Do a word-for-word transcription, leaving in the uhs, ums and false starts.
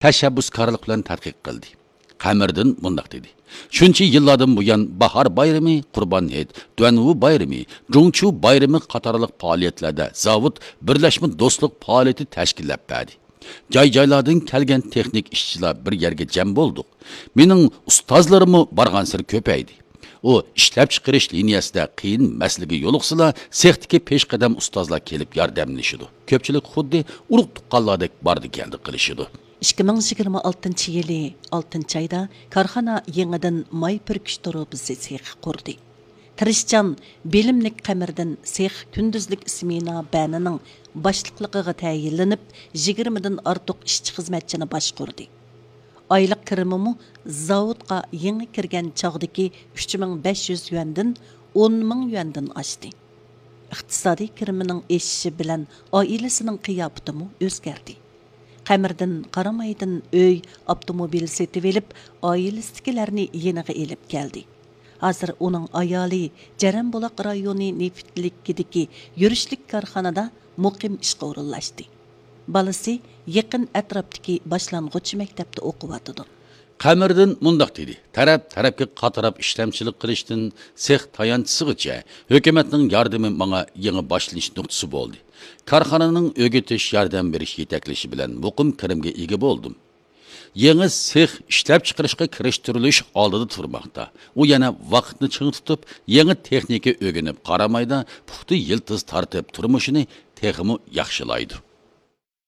تەشەببۇسكارلىق بىلەن تەتقىق قىلدى. قەمەردىن مۇنداق دېدى: شۇنچە يىللاردىن بۇيان باھار بايرىمى، قۇربان ھېيت، دۇەنۋۇ بايرىمى، جۇڭچۇ بايرىمى قاتارلىق پائالىيەتلەردە زاۋۇت بىرلەشمە دوستلۇق پائالىيىتى تەشكىللەپ بەردى. جاي-جايلاردىن كەلگەن تېخنىك ئىشچىلار بىر يەرگە جەم بولدۇق. مېنىڭ ئۇستازلىرىممۇ بارغانسېرى كۆپەيدى. ئۇ ئىشلەپچىقىرىش لىنىيەسىدە قىيىن مەسىلىگە يولۇقسىلا، سېختىكى پېشقەدەم ئۇستازلار كېلىپ ياردەملىشىدۇ. كۆپچىلىك خۇددى ئۇرۇق-تۇغقانلاردەك باردى-كەلدى قىلىشىدۇ. ئىككى مىڭ يىگىرمە ئالتىنچى يىلى ئالتىنچى ئايدا كارخانا يېڭىدىن ماي پۈركۈش تۇرۇبىسى سېخى قۇردى. تىرىشچان، بىلىملىك قەمەردىن سېخ كۈندۈزلۈك سمېنا بەنىنىڭ باشلىقلىقىغا تەيىنلىنىپ، يىگىرمىدىن ئارتۇق ئىشچى-خىزمەتچىنى باشقۇردى. ئايلىق كىرىمىمۇ زاۋۇتقا يېڭى كىرگەن چاغدىكى ئۈچ مىڭ بەش يۈز يۈەندىن ئون مىڭ يۈەندىن ئاشتى. ئىقتىسادىي كىرىمىنىڭ ئېشىشى بىلەن ئائىلىسىنىڭ قىياپىتىمۇ ئۆزگەردى. قەمەردىن قارامايدىن ئۆي، ئاپتوموبىل سېتىۋېلىپ، ئائىلىسىدىكىلەرنى يېنىغا ئېلىپ كەلدى. ھازىر ئۇنىڭ ئايالى جەرەنبۇلاق رايونى نېفىتلىكىدىكى يۈرۈشلۈك كارخانىدا مۇقىم ئىشقا ئورۇنلاشتى. بالىسى يېقىن ئەتراپتىكى باشلانغۇچ مەكتەپتە ئوقۇۋاتىدۇ. قەمەردىن مۇنداق دېدى: تەرەپ-تەرەپكە قاتراپ ئىشلەمچىلىك قىلىشتىن سېخ تايانچىسىغىچە ھۆكۈمەتنىڭ ياردىمى ماڭا يېڭى باشلىنىش نۇقتىسى بولدى. كارخانىنىڭ ئۆگىتىش، ياردەم بېرىش يېتەكلىشى بىلەن مۇقىم كىرىمگە ئىگە بولدۇم. يېڭى سېخ ئىشلەپچىقىرىشقا كىرىشتۈرۈلۈش ئالدىدا تۇرماقتا. ئۇ يەنە ۋاقىتنى چىڭ تۇتۇپ، يېڭى تېخنىكا ئۆگىنىپ، قارامايدا پۇختا يىلتىز تارتىپ، تۇرمۇشىنى تېخىمۇ ياخشىلايدۇ.